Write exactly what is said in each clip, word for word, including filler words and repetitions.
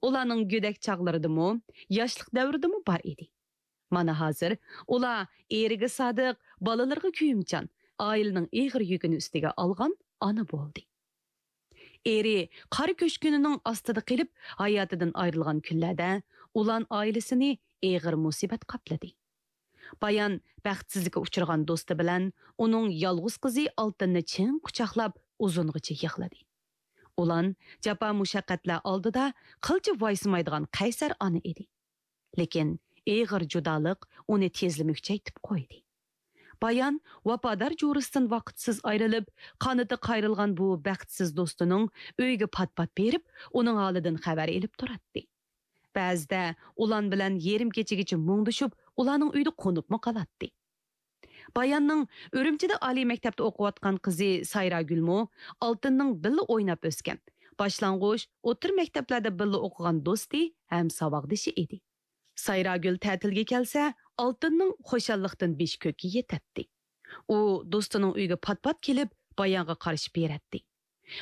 ئۇلارنىڭ گۆدەك چاغلىرىدىمۇ، ياشلىق دەۋرىدىمۇ بار ئىدى. مانا ھازىر ئۇلار ئېرىگە سادىق، بالىلىرىغا كۆيۈمچان، ئائىلىنىڭ ئېغىر يۈكىنى ئۈستىگە ئالغان ئانا بولدى. ئېرى قارا كۆچكىنىنىڭ ئاستىدا قېلىپ، ھاياتىدىن ئايرىلغان كۈنلەردە ئۇلان ئائىلىسىنى ئېغىر مۇسىبەت قاپلىدى. بايان بەختسىزلىككە ئۇچرىغان دوستى بىلەن ئۇنىڭ يالغۇز قىزى ئالتىننى چىڭ قۇچاقلاپ، ئۇزۇنغىچە يىغلىدى. ئۇلان جاپا-مۇشەققەتلەر ئالدىدا قىلچە ۋايسىمايدىغان قەيسەر ئانا ئىدى. لېكىن ئېغىر جۇدالىق ئۇنى تېزلا مۈكچەيتىپ قويدى. بايان ۋاپادار جورىسىدىن ۋاقىتسىز ئايرىلىپ، قانىتى قايرىلغان بۇ بەختسىز دوستىنىڭ ئۆيىگە پات-پات بېرىپ، ئۇنىڭ ھالىدىن خەۋەر ئېلىپ تۇراتتى. بەزىدە ئۇلان بىلەن يېرىم كېچىگىچە مۇڭدىشىپ، ئۇلارنىڭ ئۆيىدە قونۇپمۇ قالاتتى. باياننىڭ ئۈرۈمچىدە ئالىي مەكتەپتە ئوقۇۋاتقان قىزى سايراگۈلمۇ ئالتىننىڭ بىللە ئويناپ ئۆسكەن، باشلانغۇچ، ئوتتۇرا مەكتەپلەردە بىللە ئوقۇغان دوستى ھەم ساۋاقدىشى ئىدى. سايراگۈل تەتىلگە كەلسە، ئالتىننىڭ خۇشاللىقتىن بېشى كۆككە يېتەتتى. ئۇ دوستىنىڭ ئۆيىگە پات-پات كېلىپ، بايانغا قارىشىپ بېرەتتى.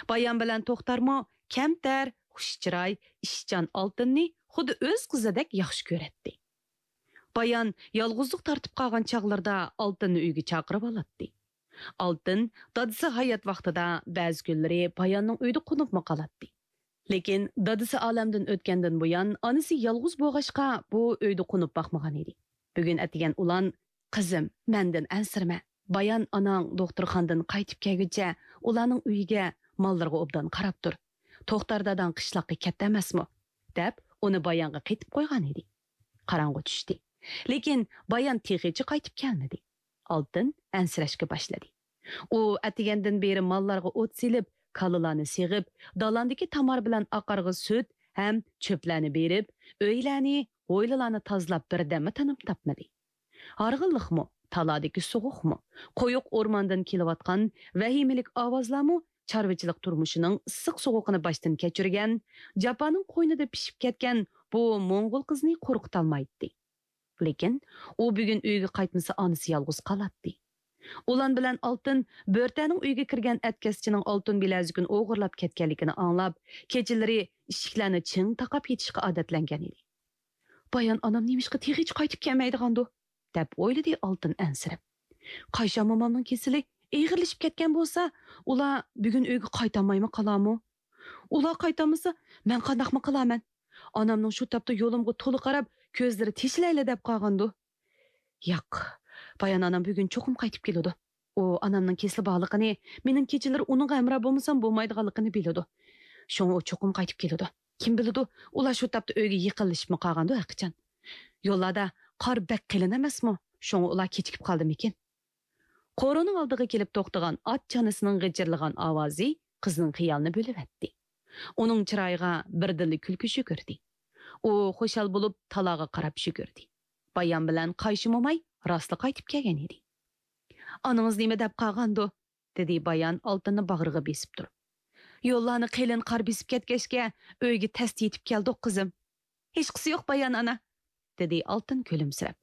بايان بىلەن توختارمۇ كەمتەر، خۇش چىراي، ئىشچان ئالتىننى خۇددى ئۆز قىزىدەك ياخشى كۆرەتتى. بايان يالغۇزلۇق تارتىپ قالغان چاغلىرىدا ئالتىننى ئۆيىگە چاقىرىۋالاتتى. ئالتىن دادىسى ھايات ۋاقتىدا بەزى كۈنلىرى باياننىڭ ئۆيىدە قونۇپمۇ قالاتتى. لېكىن دادىسى ئالەمدىن ئۆتكەندىن بۇيان، ئانىسى يالغۇز بولغاچقا، بۇ ئۆيدە قونۇپ باقمىغان ئىدى. بۈگۈن ئەتىگەن ئۇلان، «قىزىم، مەندىن ئەنسىرىمە. بايان ئاناڭ دوختۇرخانىدىن قايتىپ كەلگۈچە ئۇلارنىڭ ئۆيىگە، ماللىرىغا ئوبدان قاراپ تۇر. توختار داداڭ قىشلاققا كەتتى ئەمەسمۇ؟» دەپ، ئۇنى بايانغا قېتىپ قويغان ئىدى. قاراڭغۇ چۈشتى. لېكىن بايان تېخىچە قايتىپ كەلمىدى. ئالتىن ئەنسىرەشكە باشلىدى. ئۇ ئەتىگەندىن بېرى ماللارغا ئوت سېلىپ، كالىلارنى سېغىپ، دالاندىكى تامار بىلەن ئاقارغا سۈت ھەم چۆپلەرنى بېرىپ، ئۆيلەرنى، ھويلىلارنى تازىلاپ، بىردەممۇ تىنىم تاپمىدى. ھارغىنلىقمۇ، تالادىكى سوغۇقمۇ، قويۇق ئورماندىن كېلىۋاتقان ۋەھىمىلىك ئاۋازلارمۇ چارۋىچىلىق تۇرمۇشىنىڭ ئىسسىق سوغۇقىنى باشتىن كەچۈرگەن، جاپانىڭ قوينىدا پىشىپ كەتكەن بۇ موڭغۇل قىزنى قورقۇتالمايتتى. لېكىن ئۇ بۈگۈن ئۆيگە قايتمىسا، ئانىسى يالغۇز قالاتتى. ئۇلان بىلەن ئالتىن بۆرتەنىڭ ئۆيىگە كىرگەن ئەتكەسچىنىڭ ئالتۇن بىلەزۈكىنى ئوغرىلاپ كەتكەنلىكىنى ئاڭلاپ، كېچىلىرى ئىشىكلەرنى چىڭ تاقاپ يېتىشقا ئادەتلەنگەن ئىدى. «بايان ئانام نېمىشقا تېخىچە قايتىپ كەلمەيدىغاندۇ؟» دەپ ئويلىدى ئالتىن ئەنسىرەپ. «قايشام مومامنىڭ كېسىلى ئېغىرلىشىپ كەتكەن بولسا، ئۇلار بۈگۈن ئۆيگە قايتالمايمۇ قالارمۇ؟ ئۇلار قايتالمىسا، مەن قانداقمۇ قىلارمەن؟ ئانامنىڭ شۇ تاپتا يولۇمغا تولا قاراپ، كۆزلىرى تېشىلايلا دەپ قالغاندۇ.» «ياق، بايان ئانام بۈگۈن چوقۇم قايتىپ كېلىدۇ. ئۇ ئانامنىڭ كېسىلى بارلىقىنى، مېنىڭ كېچىلىرى ئۇنىڭغا ھەمراھ بولمىسام بولمايدىغانلىقىنى بىلىدۇ. شۇڭا ئۇ چوقۇم قايتىپ كېلىدۇ. كىم بىلىدۇ، ئۇلار شۇ تاپتا ئۆيگە يېقىنلىشىپمۇ قالغاندۇ ھەقىچان. يوللاردا قار بەك قېلىن ئەمەسمۇ؟ شۇڭا ئۇلار كېچىكىپ قالدىمىكىن؟» قورۇنىڭ ئالدىغا كېلىپ توختىغان ئات چانىسىنىڭ غىچىرلىغان ئاۋازى قىزنىڭ خىيالىنى بۆلۈۋەتتى. ئۇنىڭ چىرايىغا بىردىنلا كۈلكە يۈگۈردى. ئۇ خۇشال بولۇپ تالاغا قاراپ يۈگۈردى. بايان بىلەن قايشى موماي راستلا قايتىپ كەلگەن ئىدى. «ئانىڭىز نېمە دەپ قالغاندۇ؟» دېدى بايان ئالتىننى باغرىغا بېسىپ تۇرۇپ. «يوللارنى قېلىن قار بېسىپ كەتكەچكە، ئۆيگە تەستە يېتىپ كەلدۇق، قىزىم.» «ھېچقىسى يوق، بايان ئانا.» دېدى ئالتىن كۈلۈمسىرەپ.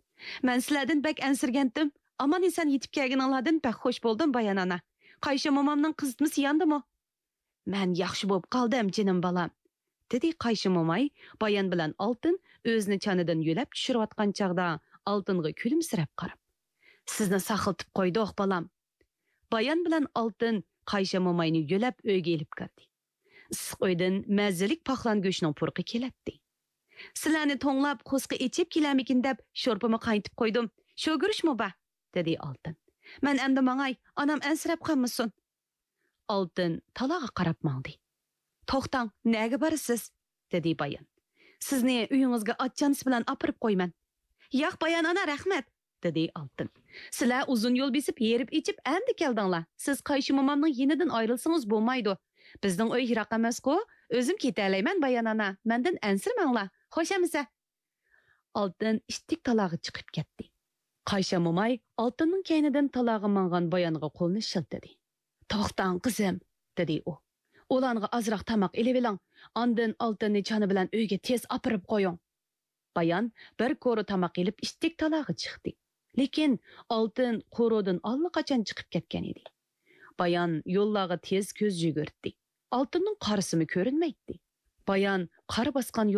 «مەن سىلەردىن بەك ئەنسىرىگەنتىم. ئامان-ئېسەن يېتىپ كەلگىنىڭلاردىن بەك خۇش بولدۇم، بايان ئانا. قايشى مومامنىڭ قىزىتمىسى ياندىمۇ؟» «مەن ياخشى بولۇپ قالدىم، جېنىم بالام.» دېدى قايشى موماي. بايان بىلەن ئالتىن ئۆزىنى چانىدىن يۆلەپ چۈشۈرۈۋاتقان چاغدا ئالتىنغا كۈلۈمسىرەپ قاراپ، «سىزنى ساقلىتىپ قويدۇق، بالام.» بايان بىلەن ئالتىن قايشى موماينى يۆلەپ ئۆيگە ئېلىپ كىردى. ئىسسىق ئۆيدىن مەززىلىك پاقلان گۆشىنىڭ پۇرىقى كېلەتتى. «سىلەرنى توڭلاپ، قورسىقى ئېچىپ كېلەرمىكىن دەپ، شورپىمۇ قاينىتىپ قويدۇم. شوگۈرۈچمۇ بار؟» دېدى ئالتىن. «مەن ئەمدى ماڭاي، ئانام ئەنسىرەپ قالمىسۇن.» ئالتىن تالاغا قاراپ ماڭدى. «توختاڭ، نەگە بارىسىز؟» دېدى بايان. «سىزنى ئۆيىڭىزگە ئات چانىسى بىلەن ئاپىرىپ قويىمەن.» «ياق، بايان ئانا، رەھمەت.» دېدى ئالتىن. «سىلەر ئۇزۇن يول بېسىپ، ھېرىپ-ئېچىپ ئەمدى كەلدىڭلار. سىز قايشى مومامنىڭ يېنىدىن ئايرىلسىڭىز بولمايدۇ. بىزنىڭ ئۆي يىراق ئەمەسقۇ؟ ئۆزۈم كېتەلەيمەن، بايان ئانا. مەندىن ئەنسىرىمەڭلار. خوش ئەمىسە.» ئالتىن ئىتتىك تالاغا چىقىپ كەتتى. قايشا موماي ئالتىننىڭ كەينىدىن تالاغا ماڭغان بايانغا قولىنى شىلتىدى. «توختاڭ، قىزىم،» دېدى ئۇ. «ئۇلانغا ئازراق تاماق ئېلىۋېلىڭ، ئاندىن ئالتىننى چانا بىلەن ئۆيگە تېز ئاپىرىپ قويۇڭ.» بايان بىر كورا تاماق ئېلىپ ئىتتىك تالاغا چىقتى. لېكىن ئالتىن قورۇدىن ئاللىقاچان چىقىپ كەتكەن ئىدى. بايان يوللارغا تېز كۆز يۈگۈرتتى. ئالتىننىڭ قارىسىمۇ كۆرۈنمەيتتى. بايان قار باسقان